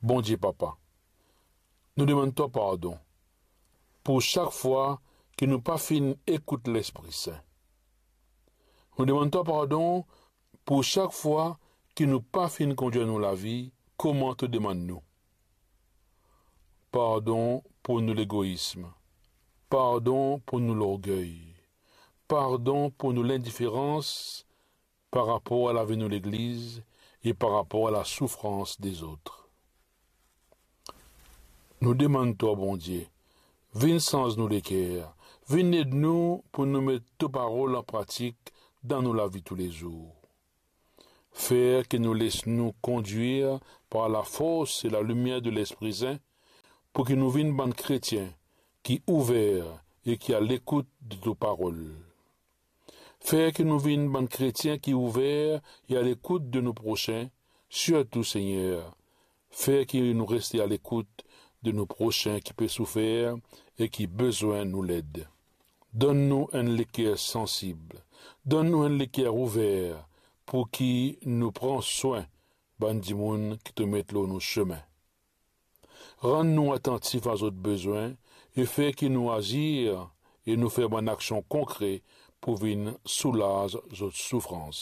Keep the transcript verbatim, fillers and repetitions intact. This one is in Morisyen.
Bondie Papa, nou demann twa pardon pou sak fwa ki nou pa finn ekout Lespri Sin. Nou demann twa pardon pou sak fwa ki nou pa finn kondir nou lavi kouma to demann nou. Pardon pou nou legoism, pardon pou nou lorgey, pardon pou nou lindiferans par rapor a lavi nou legliz e par rapor a lasoufrans dezot. Nou demann twa, Bondie, vinn sanz nou leker, vinn ed nou pou nou met to parol an pratik dan nou lavi toulezour. Fer ki nou les nou kondwir par lafors e lalimier de Lespri Sin, pou ki nou vinn bann kretien ki ouver e ki alekout de to parol. Fer ki nou vinn bann kretien ki ouver e alekout de nou prosin, sirtou, Segner, fer ki nou reste alekout de nou prosin ki pe soufer e ki bezwin nou led. Donn nou enn leker sansib, donn nou enn leker ouver, pou ki nou pran swin bann dimoun ki to met lor nou sime. Rann nou atantif a zot bezwin e fer ki nou azir e nou fer bann aksion konkre pou vinn soulaz zot soufrans.